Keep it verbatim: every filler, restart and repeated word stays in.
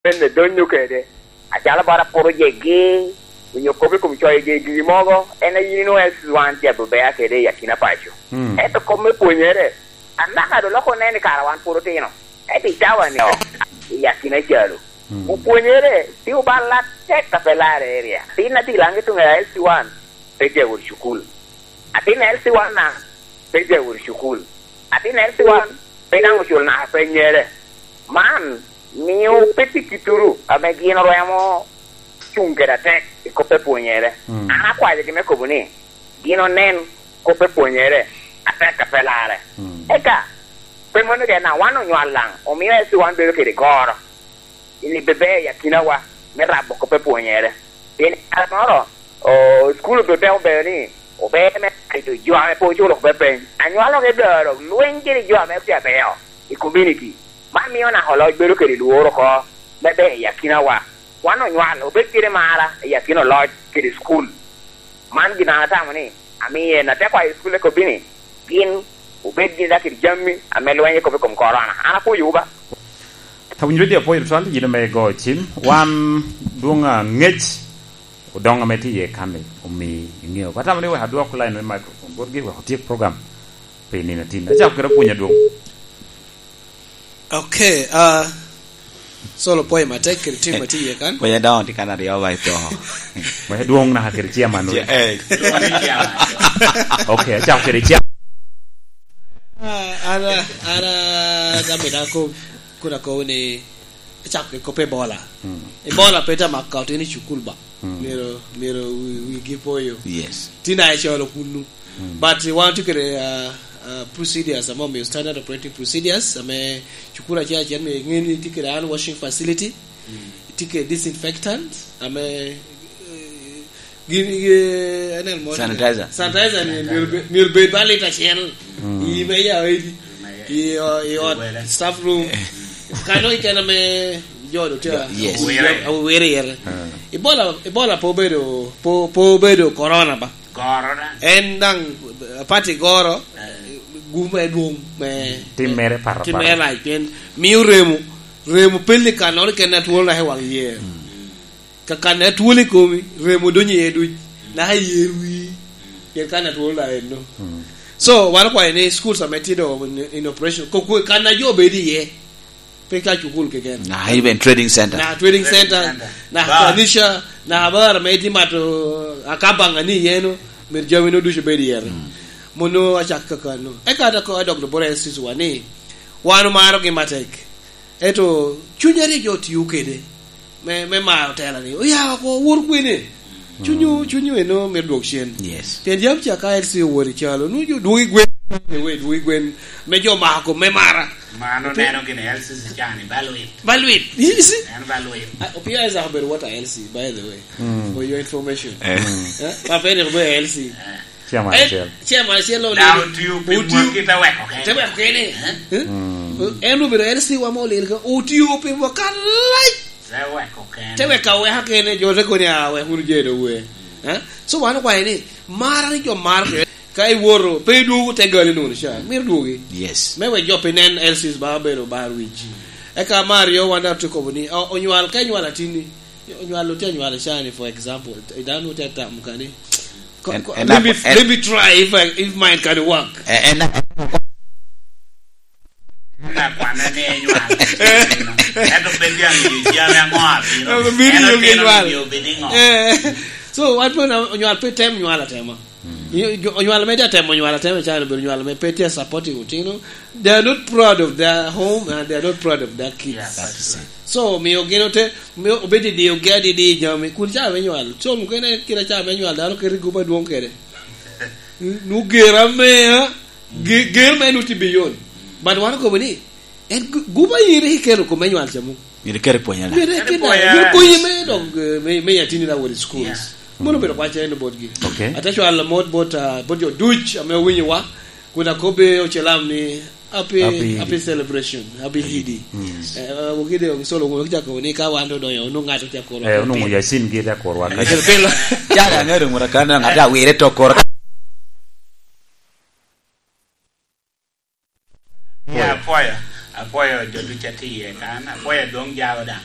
Penne donyo kede, acalo bara pworo jegi, onyo kop i kom coyo jegi mogo, en a yin inwoŋo L C one tye abebea kede i akina paco. Mm. Ento kop me pwonyere, anaka do loko nen i kara wan pwod otino. Ento i cawa ni, i akina calo. Mm. Opwonyere, tye obalo atek a pe larre area. Tin a tye i Langi tuŋe L C one, pe tye awot cukul. Atin L C one na, pe tye awot cukul. Atin L C one, pe daŋ oculo naka pe nyere. Man, mio pe tye kituru ame gin orwemo cuŋ kede atek i kop me pwonyere. Mm. An akwayogi me kobo ni, gin onen kop me pwonyere atek a pe larre. Mm. Eka, pe mano kena, wan onywal daŋ, omio L C one bedo kede goro. Ni bebe i akinawa me rabo kop me pwonyere. Pien i kare moro, o, cukul obiteko bedo ni ober me tito jo ame pe oculo kop me peny. Anywalo ge doro lweny kede jo ame tye abeyo i community. Man mio naka oloc bedo kede lworo oko me ber i akinawa. Wan onywal obed kede mara i akina oloc kede cukul. Man gin an atamo ni, amiye na te kwayo i cukul eko bini, gin obed gin dok kede jami ame lwenyo kop i kom korona. An apwoyowu ba. Awinyo dede apwoyo tutwal, yin ame igo cim. Wan dwoŋ aŋec odoŋ ame tye iye kan-ni, omi iŋeo. Atamo ni wek adwok line me microphone botgi, wek otyek program pi nino atin. Acako kede apwony adwoŋ. Okay, ah, Solo pwoyo matek kede tim a tye iye kan. Pwoyo doŋ tye kan aryo ba ipo. Pwoyo dwoŋ naka kede chairman wek. Eh. Okay, acako kede chairman. Ah, an, an, ah, gamo da ko-, kun akobo ni acako kede kop Ebola. Mm. Ebola pe te mako ka otino i cukul ba. Mm. Myero, myero wi-, wigi po yo. Yes. Tin a icolo kunnu. Mm. But wan tye kede, uh, uh, procedures, ame omio standard operating procedures, ame cukul acel acel, me ŋe ni tye kede hand washing facility, mm, tye kede disinfectant, ame, eh, gin, eh, anel mo. Sanitizer. Sanitizer ni myero be-, myero bed ba lita acel. Mm. I me ya edi. I, o-, i ot, staff room. Kano i kena me jo do tye. Yes. Awere yere. Ah. Ebola, Ebola po bedo, po, po bedo corona ba. Goro da. En daŋ, eh, pati goro, eh, gum me dwoŋ me, tim mere me, pato tim mere pato. Lac, pien mio remo, remo pel i kannoro kene atwolo naka i waŋ yer. Mm. Ka kan atwolo i komi, remo donyo iye duc, naka i yer wii, pien kan atwolo naka enno. Mm. So, wan okwayo ni schools ame tye do in, in operation, ko-, ko-, kan a jo bedo iye, pe ka cukul keken. Na even trading center. Na trading center, na kanisha, na bar ame itye mato akabaŋa ni iyeno, myero jami no ducu bed iye. Mm. Mono acak kakano. Eka dok, adok lubura L C C wa ni, wan omarogi matek. Ento cuny a rik jo otio kede me, me maro tela ni, oya oko, wot kwene. Cunyu, mm, cunyu eno myero dwok cen. Yes. Pien jami ca ka L C owot i calo, nu jo dwogi gwen, anyway, dwogi gwen, me jo mako, me mara. Mano neno gini L C C cani, ba lwit. Ba lwit. You see? En ba lwit. Ah, Opio Isaac obedo what a L C, by the way, mm, for your information. Eh. Mm. Eh? Papa en obedo L C. Eh. Chairman acel. Chairman acel lo lelo. Otio pi mwaki te weko kene. Te weko kene. Eh? Eh? Mm. En obedo L C wa mo lelo ka. Otio pi mwaka lac. Te weko kene. Te weko aweka kene, jo te koni a wek wunu je do we. Eh? So wan okwayo ni, mara ni jo mar ke. Ka iwoto, pe idwogo te gali nono ca. Miro dwogi. Yes. Me wek jo pe nen L Cs ba obedo bar wic. Eka mar yo wan dok te kobo ni, o-, onywal, ka inywal atinni, onywal otye anywal cani, for example, dano otye atam kani. Ko-, en, ko-, en let me, en, let me try if I, if mine can work. En, en, na kwane ni enywal. Ento pe bia miyo jami aŋo abino. Ento bino yo eno genywal. Miyo obed iŋo? Eh. So, wan pe na-, onywal pe tem nywal atema. Mm. I-, jo-, onywal me tye atemo nywal atema, calo obedo nywal me pe tye supporting otino. They are not proud of their home and they are not proud of their kids. Yeah, that's right. So, miyo gin ote, miyo obed i diyogi adidi i jami. Kun ca me nywal. So, mukene kite ca me nywal, dano keto i gup adwoŋ kede. Nu ger ameya, ge-, ger me nu tye beyond. But wan okobo ni, en gu-, gup aye rik ikelo kome nywal ca muk. Myero iket i pwony, ala? Myero iket i pwony, myero pwonye me dok, eh, me, me yatini la wot i schools. Yeah. Mono obedo kwac en botgi. Okay. Ate cwalo mot bot, ah, bot jo duc ame owinyowa, kun akobbe ocelam ni, happy, happy Idi. Happy celebration, happy Idi. Mm. Eh, eh, wokide ogisolo wunu cako ni ka wan odonyo, onwoŋo ŋat otye akoro. Eh, onwoŋo yasin gi te akorwa. Yasin pilo. Caka ŋero ŋura kan ŋat awire to koro. Apwoyo, apwoyo, apwoyo jo ducu a tye iye kan, apwoyo adwoŋ jalo daŋ.